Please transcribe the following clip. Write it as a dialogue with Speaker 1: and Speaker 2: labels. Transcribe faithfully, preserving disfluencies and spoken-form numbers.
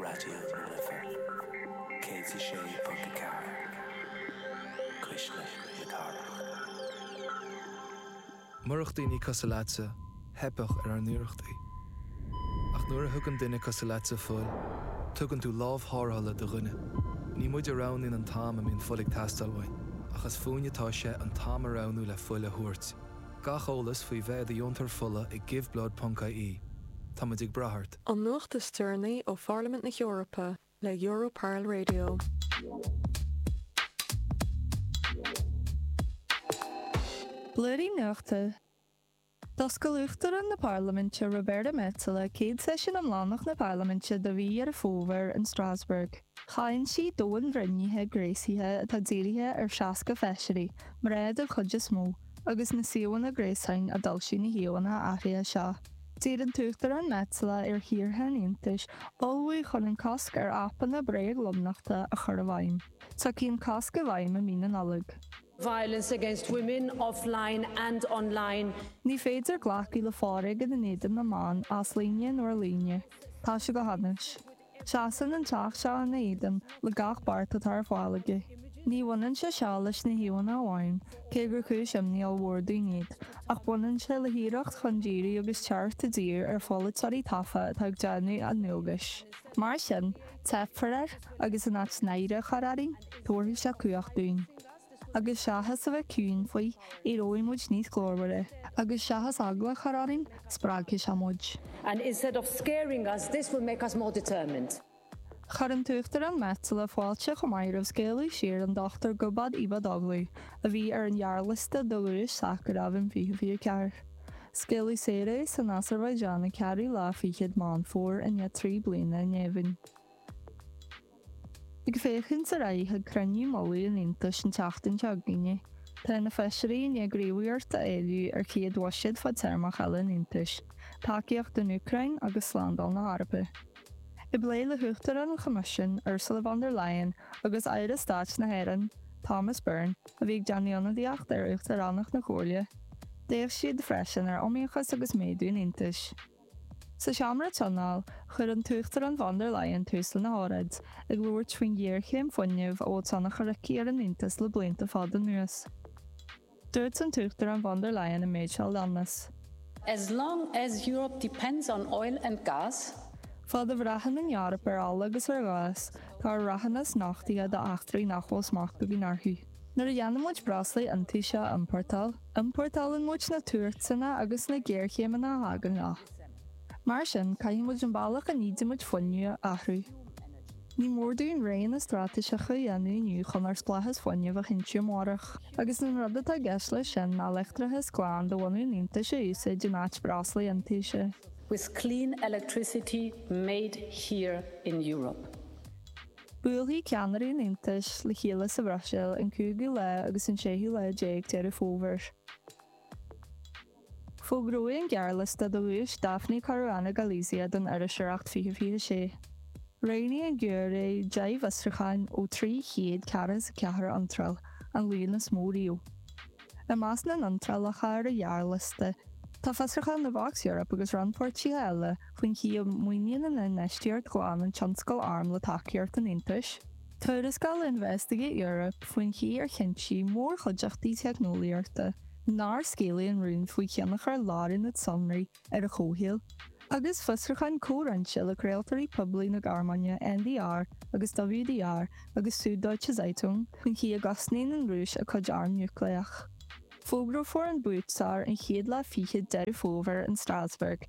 Speaker 1: Raidió na Life céad a sé ponc a ceathair Cuisle na Cathrach.
Speaker 2: Murach daoine cosúil leatsa, theipfeadh ar ár n-iarrachtaí. Ach nuair a thugann duine cosúil leatsa fuil, tugann tú lámh tharrthála do dhuine. Ní muid a roghnaíonn an t-am a mbíonn fuil ag teastáil uainn, ach is fúinne atá sé an t-am a roghnú le fuil a thabhairt. Gach eolas faoi bheith i do dheontóir fola ag giveblood.ie. Táimid ag brath ort.
Speaker 3: An nuacht is deireanaí ó Pharlaimint na hEorpa le Europarl Radio.
Speaker 4: Blúirí Nuachta. D'oscail Uachtarán na Parlaiminte Roberta Metsola céad seisiún iomlánach na Parlaiminte do mhí Dheireadh Fómhair in Strasbourg. Cháin sí domhainbhreithnithe gréasaithe atá dírithe ar seasca feisirí, mná den chuid is mó, agus na suíomhanna gréasáin a d'fhoilsigh na híomhánna athraithe seo. D'iarr an tUachtarán Metsola ar thíortha an Aontais ullmhú chun an cosc ar aipeanna bréaglomnochta a chur i bhfeidhm. Tiocfaidh an cosc i bhfeidhm i mí na Nollag.
Speaker 5: Violence against women offline and online.
Speaker 4: Ní féidir glacadh le foréigean in éadan na mban, as líne nó ar líne. Tá sé go hainnis. Seasann an Teach seo ina éadan le gach beart atá ar fáil aige. Ní bhaineann sé seo leis na híomhánna amháin, cé gur cúis imní ollmhór dúinn iad, ach baineann sé le hiarracht chun díriú agus teacht i dtír ar pholaiteoirí tofa atá ag déanamh a ndualgais. Mar sin, teipfear air, agus in áit náire a chur orainn, tabharfaidh sé cumhacht dúinn. Agus seachas a bheith ciúin faoi, éireoidh muid níos glórmhaire. Agus seachas eagla a chur orainn, spreagfaidh sé muid.
Speaker 5: And instead of scaring us, this will make us more determined.
Speaker 4: Chuir an tUachtarán Metsola fáilte chomh maith roimh scaoileadh saor an Dochtúir Gubad Ibadoghlu, a bhí ar an ghearrliosta do Dhuais Sakharov in fiche fiche ceathair. Scaoileadh saor é san Asarbaiseáin an ceathrú lá fichead Meán Fómhair i ndiaidh trí bliana i ngéibheann. Ag féachaint ar aghaidh chuig cruinniú mullaigh an Aontais an tseachtain seo chugainn, tá na feisirí i ndiaidh gníomhaíocht a éileamh ar chéad bhuiséad fadtéarmach eile an Aontais, tacaíocht don Úcráin agus slándáil na hEorpa. I bplé le hUachtarán an Choimisiúin, Ursula von der Leyen, agus Aire Stáit na hÉireann, Thomas Byrne, a bhí ag déanamh ionadaíocht ar Uachtaránacht na Comhairle, d'fhéach siad freisin ar iomaíochas agus méadú an Aontais. Sa seomra tionóil, chuir an tUachtarán von der Leyen tús lena hóráid, ag labhairt faoin ghéarchéim fuinnimh a bhfuil tionchar aici ar an Aontas le blianta fada anuas. Dúirt an tUachtarán von der Leyen an méid seo a leanas.
Speaker 5: As long as Europe depends on oil and gas,
Speaker 4: Fad a bhraitheann an Eoraip ar ola agus ar ghás, tá ár rathúnas nochtaithe d'eachtraí nach bhfuil smacht againn orthu. Nuair a dhéanann muid breoslaí iontaise a iompórtáil, iompórtálann muid na tuairteanna agus na géarchéimeanna a thagann leo. Mar sin, caithfidh muid an bealach a n-ídímid fuinneamh a athrú. Ní mór dúinn roghanna straitéiseacha a dhéanamh inniu chun ár spleáchas fuinnimh a chinntiú amárach. Agus an rud atá i gceist leis sin ná leictreachas glan de bhunadh an Aontais a úsáid in áit breoslaí iontaise.
Speaker 5: With clean electricity made here in Europe.
Speaker 4: Buailfidh ceannairí an Aontais le chéile sa Bhruiséil an cúigiú lá agus an séú lá déag Deireadh Fómhair. Fógraíodh an gearrliosta do Dhuais Daphne Caruana Galizia don Iriseoireacht fiche fiche sé. Roghnaigh an giúiré deich bhfiosrúchán ó trí chéad ceathracha is a ceathair iontráil, an líon is mó riamh. I measc na n-iontrálacha ar an ghearrliosta, tá fiosrúchán le Vox Europe agus rannpháirtithe eile faoin chaoi a maoiníonn an infheistíocht ghlan an tionscal arm le tacaíocht an Aontais, tuarascáil Investigate Europe faoin chaoi ar chinntigh mórchuideachtaí teicneolaíochta nár scaoileadh an rún faoi thionchar lárionad sonraí ar an chomhshaol, agus fiosrúchán comhroinnte le craoltóirí poiblí na Gearmáine N D R agus W D R agus Süddeutsche Zeitung faoin chaoi a gcosnaíonn an Rúis a cuid arm núicléach. Fógrófar an buaiteoir an chéad lá fichead Deireadh Fómhair in Strasbourg.